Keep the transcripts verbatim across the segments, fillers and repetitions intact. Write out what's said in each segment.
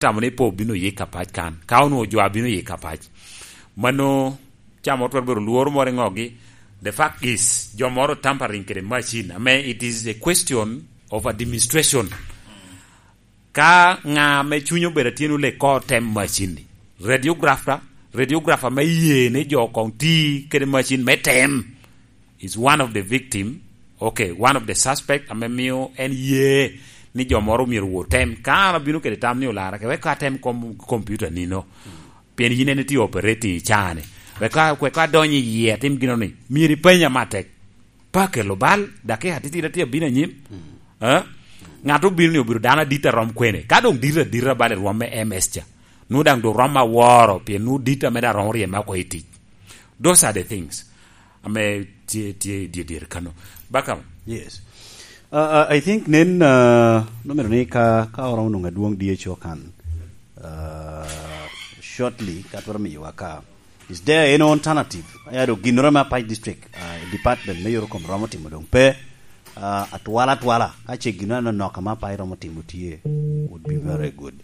tamo ni pe obino yik apac kan. Ka onwoŋo jo abino yik apac, mano ca moro twero bedo lworo moro i ŋogi. The fact is, jo moro tampering kede machine, ame it is a question of administration. Ka ŋa ame cunye obedo atyen ole ko tem machine ni, radiographer, radiographer me ye ni jo koŋ ti kede machine me tem is one of the victim, okay, one of the suspect ame mio en ye ni jo moro myero wo tem. Ka an abino kede tam ni olara ke, wek ka tem kom-, computer nino, pien yin en itye operating i caa ni. Wek ka, wek ka adonyo i yie atim gino ni, myero ipenya matek. Pe akelo bal, dakika titidi atye abino anyim. Eh? Ŋat obino ni obedo dano adit a rom kwene. Ka doŋ dit adita bal i rwom me M S ca, nwoŋo daŋ doŋ rom aworo, pien nwoŋo dit ame daŋ romo ryeme oko i tic. Those are the things ame tye, tye i dye dyere kano. Bakam. Yes. Uh, uh, I think nen, uh, nomero ni ka, ka oromo nwoŋo adwoŋ D H O kan, uh, shortly, ka twero miyowa ka. Is there any alternative? Aya do ginnoro me Apac District, uh, department me yoro kom romo timo doŋ pe, uh, atwala atwala. Ka ce ginnoro anonok ame Apac romo timo tye, would be very good.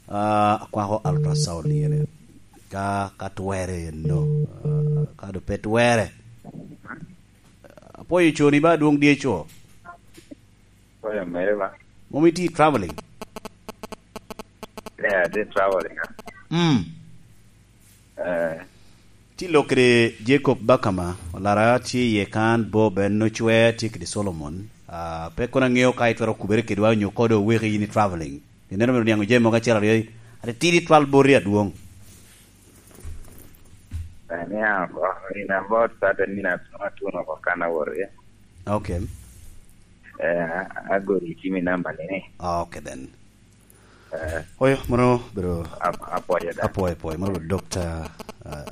Uh, akwako ultrasound ni ene. Ka, ka twere eno, uh, ka do pe twere. Apwoyo coni ba adwoŋ D H O. Apwoyo mere ba. Mom iti traveling? Yeah, ati traveling, ah. Mm. Eh. Ti lok kede Jacob Bakama, olara tye iye kan, Bob en ocwe, tye kede Solomon. Ah, pe kono aŋeo ka itwero kubere kedwa onyo kodo oweki in i traveling. Ineno mere niaŋ oje mogo acel aryo, ati tidi twal boti adwoŋ. Eh, niaŋ oko, in about thirty minutes, no, atuno oko kan awot iye. Okay. Eh, a-, agori i cimi namba ni. Okay then. Eh. Oyo, mono bro. Ap-, apwoyo da. Apwoyo, apwoyo. Mono bro, Doctor